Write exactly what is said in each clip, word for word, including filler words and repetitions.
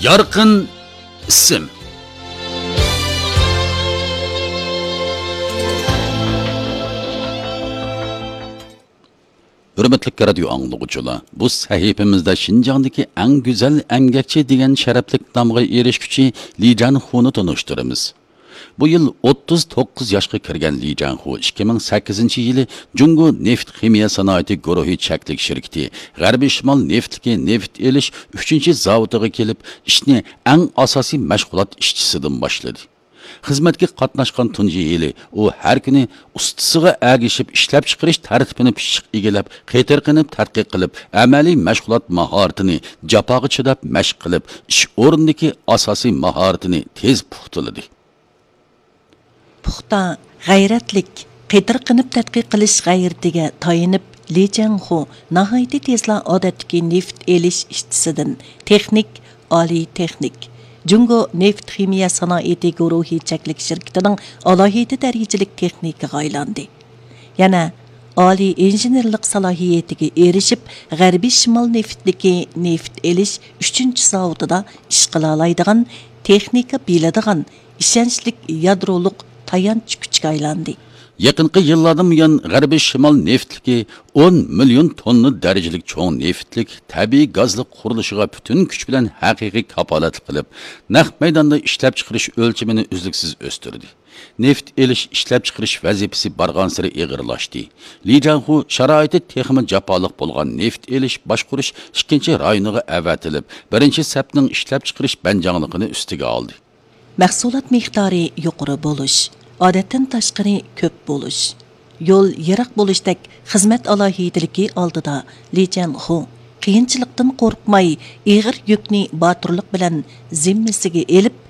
يارقىن ئىسىم. ھۆرمەتلىك رادىيو ئاڭلىغۇچىلار، بۇ سەھىپىمىزدە شىنجاڭدىكى ئەڭ گۈزەل ئەمگەكچى دېگەن شەرەپلىك نامغا ئېرىشكۈچى لى جەنخۇنى تونۇشتۇرىمىز. بۇ يىل ئوتتۇز توققۇز ياشقا كىرگەن لى جەنخۇ ئىككى مىڭ سەككىزىنچى يىلى جۇڭگو نېفىت خىمىيە سانائىتى گۇرۇھى چەكلىك شىركىتى غەربىي شىمال نېفىتلىكى نېفىت ئېلىش ئۈچىنچى زاۋۇتىغا كېلىپ، ئىشنى ئەڭ ئاساسىي مەشغۇلات ئىشچىسىدىن باشلىدى. خىزمەتكە قاتناشقان تۇنجى يىلى ئۇ ھەر كۈنى ئۇستىسىغا ئەگىشىپ ئىشلەپچىقىرىش تەرتىپىنى پىششىق ئىگىلەپ، قېتىرقىنىپ تەتقىق قىلىپ، ئەمەلىي مەشغۇلات ماھارىتىنى جاپاغا چىداپ مەشىق قىلىپ، ئىش ئورنىدىكى ئاساسىي ماھارىتىنى تېز پۇختىلىدى. پۇختا، غەيرەتلىك، قېتىرقىنىپ تەتقىق قىلىش غەيرىتىگە تايىنىپ، لى جەنخۇ ناھايىتى تېزلا ئادەتتىكى نېفىت ئېلىش ئىشچىسىدىن تېخنىك، ئالىي تېخنىك، جۇڭگو نېفىت خىمىيە سانائىتى گۇرۇھى چەكلىك شىركىتىنىڭ ئالاھىدە دەرىجىلىك تېخنىكىغا ئايلاندى. يەنە ئالىي ئىنژېنېرلىق سالاھىيىتىگە ئېرىشىپ، غەربىي شىمال نېفىتلىكى نېفىت ئېلىش ئۈچىنچى زاۋۇتىدا ئىش قىلالايدىغان، تېخنىكا بىلىدىغان، ئىشەنچلىك يادرولۇق تايانچ كۈچكە ئايلاندى. يېقىنقى يىللاردىن بۇيان، غەربىي شىمال نېفىتلىكى ئون مىليون توننا دەرىجىلىك چوڭ نېفىتلىك تەبىئىي گازلىق قۇرۇلۇشىغا پۈتۈن كۈچ بىلەن ھەقىقىي كاپالەتلىك قىلىپ، نەق مەيداندا ئىشلەپچىقىرىش ئۆلچىمىنى ئۈزلۈكسىز ئۆستۈردى. نېفىت ئېلىش، ئىشلەپچىقىرىش ۋەزىپىسى بارغانسېرى ئېغىرلاشتى. لى جاڭخۇ شارائىتى تېخىمۇ جاپالىق بولغان نېفىت ئېلىش باشقۇرۇش ئىككىنچى رايونىغا ئەۋەتىلىپ، بىرىنچى سەپنىڭ ئىشلەپچىقىرىش بەنجاڭلىقىنى ئۈستىگە ئالدى. مەھسۇلات مىقدارى يۇقىرى بولۇش، ئادەتتىن تاشقىرى كۆپ بولۇش، يول يىراق بولۇشتەك خىزمەت ئالاھىدىلىكى ئالدىدا لى جياڭخۇ قىيىنچىلىقتىن قورقماي، ئېغىر يۈكنى باتۇرلۇق بىلەن زىممىسىگە ئېلىپ،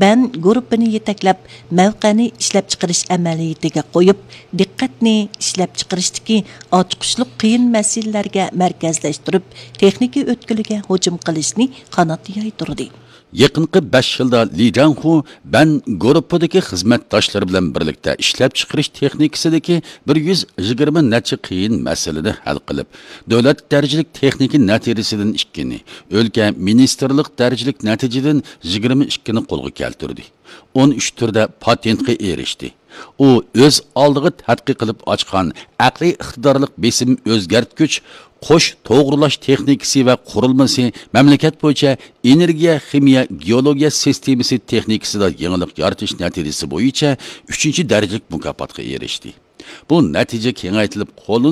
بەن گۇرۇپپىنى يېتەكلەپ، مەۋقەنى ئىشلەپچىقىرىش ئەمەلىيىتىگە قويۇپ، دىققەتنى ئىشلەپچىقىرىشتىكى ئاچقۇچلۇق قىيىن مەسىلىلەرگە مەركەزلەشتۈرۈپ، تېخنىكا ئۆتكىلىگە ھۇجۇم قىلىشنى قانات يايدۇردى. يېقىنقى بەش يىلدا لى جاڭخۇ بەن گۇرۇپپىدىكى خىزمەتداشلىرى بىلەن بىرلىكتە ئىشلەپچىقىرىش تېخنىكىسىدىكى بىر يۈز يىگىرمە نەچچە قىيىن مەسىلىنى ھەل قىلىپ، دۆلەت دەرىجىلىك تېخنىكا نەتىجىسىدىن ئىككىنى، ئۆلكە مىنىستىرلىق دەرىجىلىك نەتىجىدىن يىگىرمە ئىككىنى قولغا كەلتۈردى. ئون ئۈچ تۈردە پاتېنتقا ئېرىشتى. ئۇ ئۆز ئالدىغا تەتقىق قىلىپ ئاچقان ئەقلىي ئىقتىدارلىق بېسىم ئۆزگەرتكۈچ قوش توغرىلاش تېخنىكىسى ۋە قۇرۇلمىسى مەملىكەت بويىچە ئېنېرگىيە خىمىيە گېئولوگىيە سىستېمىسى تېخنىكىسىدا يېڭىلىق يارىتىش نەتىجىسى بويىچە ئۈچىنچى دەرىجىلىك مۇكاپاتقا ئېرىشتى. بۇ نەتىجە كېڭەيتىلىپ قوللىنىش